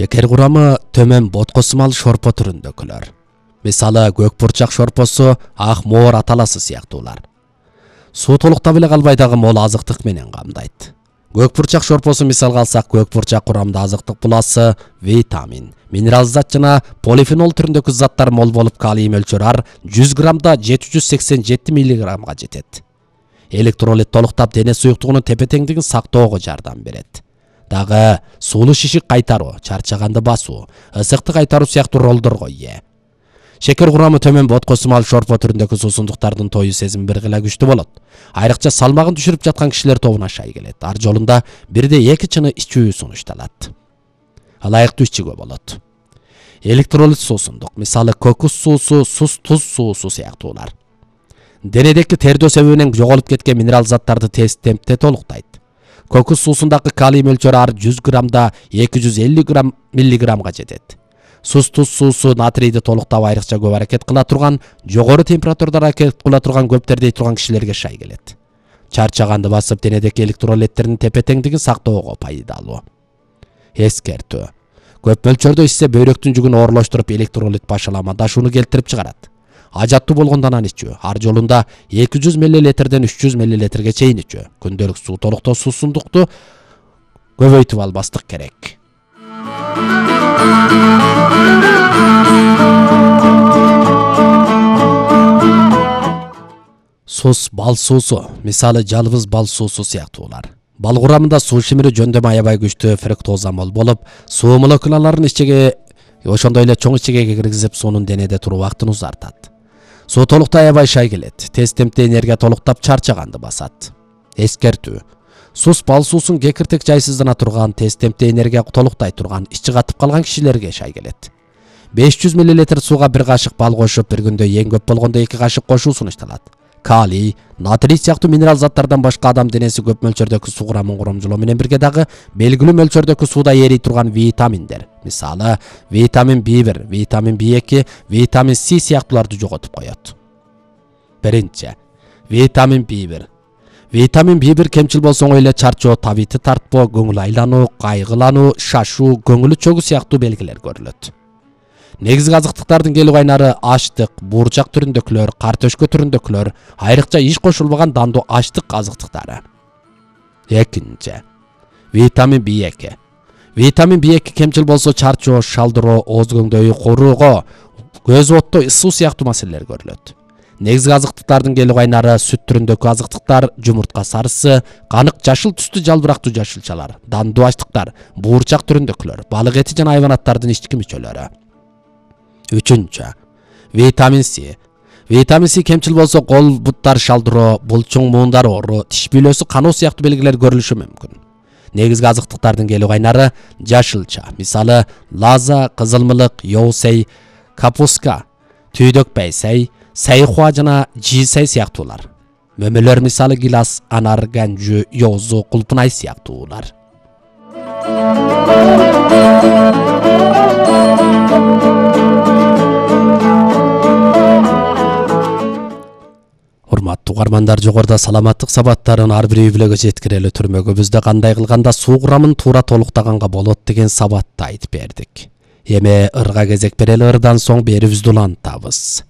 Шекер курамы төмөн боткосумал шорпо түрүндөкүлөр. Мисалы көк бурчак шорпосу, ак моор аталасы сыяктуулар. Суу толуктап эле калбай дагы мол азыктык менен камдайт. Көк бурчак шорпосу мисалга алсак, көк бурчак курамында азыктык буласы, витамин, минерал зат жана полифенол түрүндөгү заттар мол болуп, калий мөлчөрү ар 100 граммда 787 миллиграммга жетет. Электролит толуктап дене суюктугунун тепе-теңдигин сактоого жардам берет. Дагы суулуу шишик кайтаруу, чарчаганды басуу, ысыкты кайтаруу сыяктуу ролдорго ээ. Шекер курамы төмөн боткосумал шорпо түрүндөгү суусундуктардын тою сезими бир гыла күчтүү болот. Айрыкча салмагын түшүрүп жаткан кишилер тобуна шай келет. Ар жолунда 1/2 чыны ичүү сунушталат. Ылайыктуу ичүүгө болот. Электролит суусундук, мисалы кокус суусу, туз суусу сыяктуулар. Денедеки тердөө себебинен жоголуп кеткен минерал заттарды тез темпте толуктайт. Кокус суусундагы калий мөлчөрү ар 100 граммда 250 миллиграммга жетет. Туз суусу натрийди толуктап айрыкча көп аракет кыла турган, жогору температурада аракет кыла турган көптөрдей турган кишилерге шай келет. Чарчаганды басып, денедеки электролиттердин тепе-теңдигин сактоого пайдалуу. Эскертүү. Көп мөлчөрдө ичсе бөйрөктүн жүгүн оорлоштуруп, электролит башаламадашууну келтирип чыгарат. Ажаттуу болгондон аны ичүү. Ар жолунда 200 мл 300 мл чейин ичүү. Күндөлүк суу толуктоо суусундукту көбөйтүп албастык керек. Сус бал суусу, мисалы жалбыз бал суусу сыяктуулар. Бал курамында суу шимири жөндөмө аябай күчтүү фруктоза мол болуп, суу молекулаларын ичеге, ошондой эле чоң ичегеге киргизип, суунун денеде туруу убактын узартат. Суу толукта аябай шай келет. Тез темпте энергия толуктап, чарчаганды басат. Эскертүү. Сус бал суусун кекиртек жайсыздана турган, тез темпте энергия толуктай турган, ичи катып калган кишилерге шай келет. 500 мл сууга 1 кашык бал кошуп, бир күндө эң көп болгондо 2 кашык кошуу сунушталат. Калий, натрий сыяктуу минерал заттардан башка адам денеси көп мөлчөрдөгү суу курамын коромжолоо менен бирге дагы белгилүү мөлчөрдөгү сууда эрий турган витаминдер, мисалы витамин B1, витамин B2, витамин C сыяктууларды жоготуп коет. Биринчи, витамин B1. Витамин B1 кемчил болсо оңой эле чарчоо, табити тартпоо, көңүл айлануу, кайгылануу, шашуу, көңүлү чөгүү сыяктуу белгилер көрүлөт. Негизги азыктыктардын келүү кайнары аштык, буурчак түрүндөгүлөр, кар төшкө түрүндөгүлөр, айрыкча иш кошулбаган дандуу аштык азыктыктары. Экинчи, витамин B2. Витамин B2 кемчил болсо чарчоо, шалдыроо, ооз көңдөйү, кооруго, көз оттоо, ысуу сыяктуу маселелер көрүлөт. Негизги азыктыктардын келүү кайнары сүт түрүндөгү азыктыктар, жумуртка сарысы, канык жашыл түстүү жалбырактуу жашылчалар, дандуу аштыктар, буурчак түрүндөгүлөр, балык эти жана хайванаттардын ички мүчөлөрү. Үчүнчү, витамин C. Витамин C кемчил болсо кол буттар шалдыроо, булчуң муундар оору, тиш бүлөсү кануу сыяктуу белгилер көрүлүшү мүмкүн. Негизги азыктыктардын келүү кайнары жашылча, мисалы лаза, кызылмылык, йоусей, капуска, түйдөк байсай, сайхуа жана жийсай сыяктуулар. Мөмөлөр мисалы гилас, анар, ганжу, йоозу, кулпунай сыяктуулар. Урматтуу угармандар, жогоруда саламаттык сабаттарын ар бир үй-бүлөгө жеткирели түрмөгүбүздө кандай кылганда суу курамын туура толуктаганга болот деген сабатты айтып бердик. Эми ырга кезек берели, ырдан соң берүүбүздү улантабыз.